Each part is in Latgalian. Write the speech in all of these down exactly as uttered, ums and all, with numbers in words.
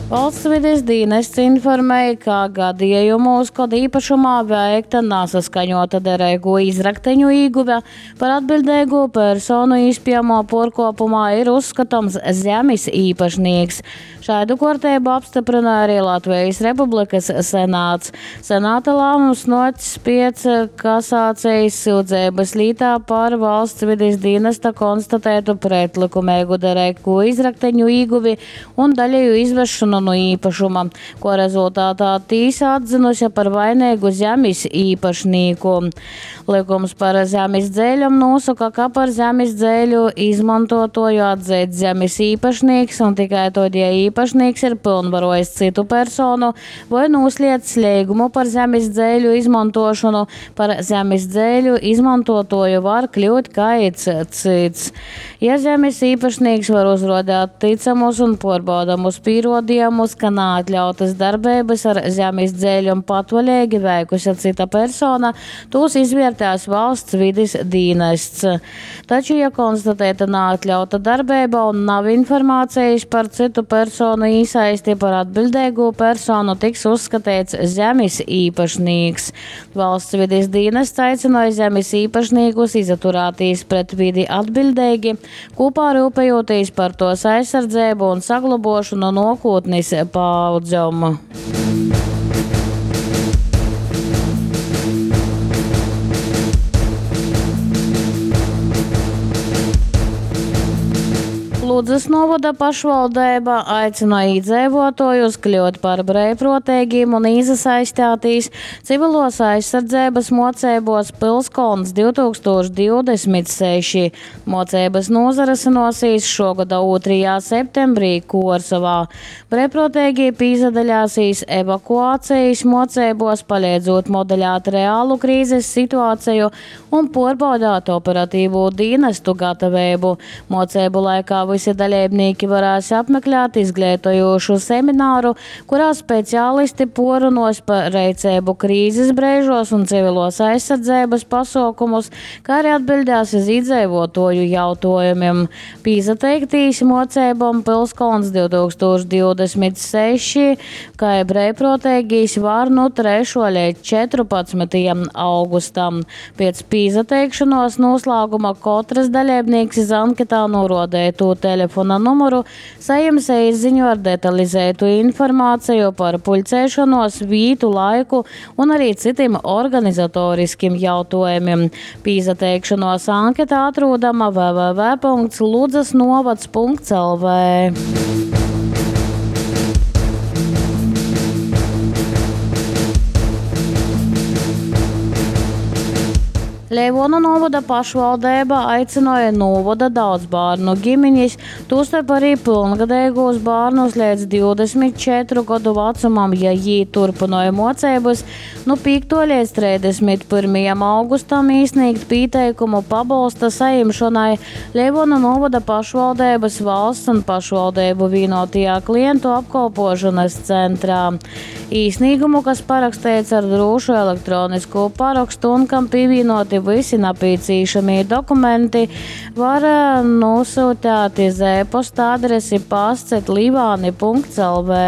Valsts vides dīnests informēja, ka gadījumos, kad īpašumā veikta nasaskaņota derīgo izrakteņu īguve, par atbildīgo personu iespējamo pārkopumā ir uzskatāms zemes īpašnieks. Šādu kārtību apstiprināja arī Latvijas Republikas senāts. Senāta lēmums nocis pēc kasācijas sūdzības lītā par valsts vides dienesta konstatētu pretlikumīgu derīgo izrakteņu īguvi un daļēju izvešanu no īpašuma, ko rezultātā tīsa atzinusi par vainīgu zemes īpašnieku. Likums par zemes dzēļam nosaka, ka par zemes dzēļu izmantotoju atzīt zemes īpašnieks un tikai tad, ja īpašnieks ir pilnvarojis citu personu vai noslēdzis līgumu par zemes dzēļu izmantošanu, par zemes dzēļu izmantotoju var kļūt kāds cits. Ja zemes īpašnieks var uzrodēt ticamus un pārbaudamus pierādījumus, ka neatļautas darbības ar zemes dzēļu patvaļīgi veikusi cita persona, tos izvērtēs valsts vides dienests. Taču, ja konstatēta neatļauta darbība un nav informācijas par citu personu iesaisti, par atbildīgo personu tiks uzskatīts zemes īpašnieks. Valsts vides dienests aicināja zemes īpašniekus izaturēties pret vidi atbildīgi, kopā rūpējoties par tos aizsardzību un saglabošanu nākotnes paaudzēm. Ludzas novada pašvaldība aicina iedzīvotājus kļūt par brīvprātīgiem un iesaistīties civilos aizsardzības mocībos Pilskolns divtūkstoš divdesmit seši. Mocības nozaresinosies šogada otrajā septembrī Kuorsovā. Brīvprātīgie pīzadaļāsīs evakuācijas mocībos, palīdzot modeļāt reālu krīzes situāciju un pārbaudāt operatīvo dienestu gatavību. Mocību laikā visi dalībnieki varēs apmeklēt izglītojošu semināru, kurā speciālisti porunos par reicēbu krīzes brīžos un civilos aizsardzības pasaukumus, kā arī atbildēs uz iedzīvotoju jautājumiem. Pīzateiktīs mocībām Pilskolns divtūkstoš divdesmit seši, kā brīvprātīgīs var no trešo līdz četrpadsmitajam augustam. Pēc pīzateikšanos noslēguma katrs dalībnieks iz anketā norodētu telefona numuru, saņems e-ziņu ar detalizētu informāciju par pulcēšanos, vītu, laiku un arī citiem organizatoriskiem jautājumiem. Pīzateikšanos anketā atrodama w w w punkts ludzas novads punkts l v. Leivonu novada pašvaldība aicināja novada daudz bērnu ģimenes, tostarp arī pilngadīgos bērnus līdz divdesmit četru gadu vecumam, ja jī turpināja mocības, nu piekto līdz trīsdesmit pirmajam augustam iesniegt pieteikumu pabalsta saņemšanai Leivonu novada pašvaldības valsts un pašvaldību vienotajā klientu apkalpošanas centrā. Īsnīgumu, kas parakstīts ar drošu elektronisko parakstu un kam pievienoti visi nepieciešamie dokumenti, var, eh, nosūtīt iz e-posta adresi pasts et līvāni punkts l v.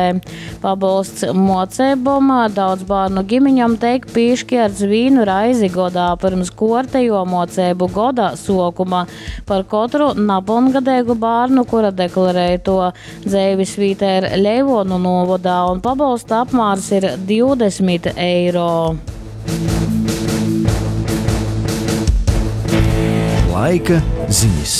Pabalsts mocībom daudz bērnu ģimeņam teik piešķirts vienu raizi godā pirms kortejo mocību goda sokuma. Par katru napilngadīgu bērnu, kura deklarē to dzīves vieta ir Leivonu novadā, un pabalsta apmērs ir divdesmit eiro. Laika ziņas.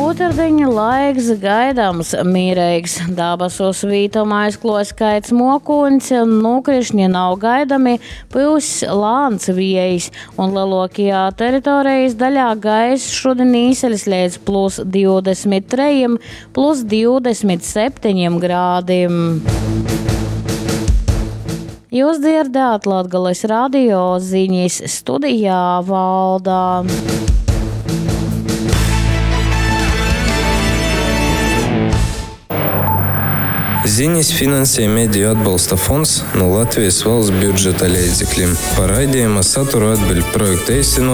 Otrdiņa laiks gaidāms mierīgs. Dabasos vītuma aizklos kaits mokuņs, nokrišņi nav gaidami, pūs lāns viejs, un lielākajā teritorijas daļā gaiss šodien īseļas līdz plus divdesmit trejiem, plus divdesmit septiņiem grādiem. Jūs dzirdējāt Latgales radio ziņas studijā Valdā. Ziņas finansē Mediju atbalsta fonds no Latvijas valsts budžeta līdzekļiem. Par raidījuma saturu atbild projekta īstenotāji.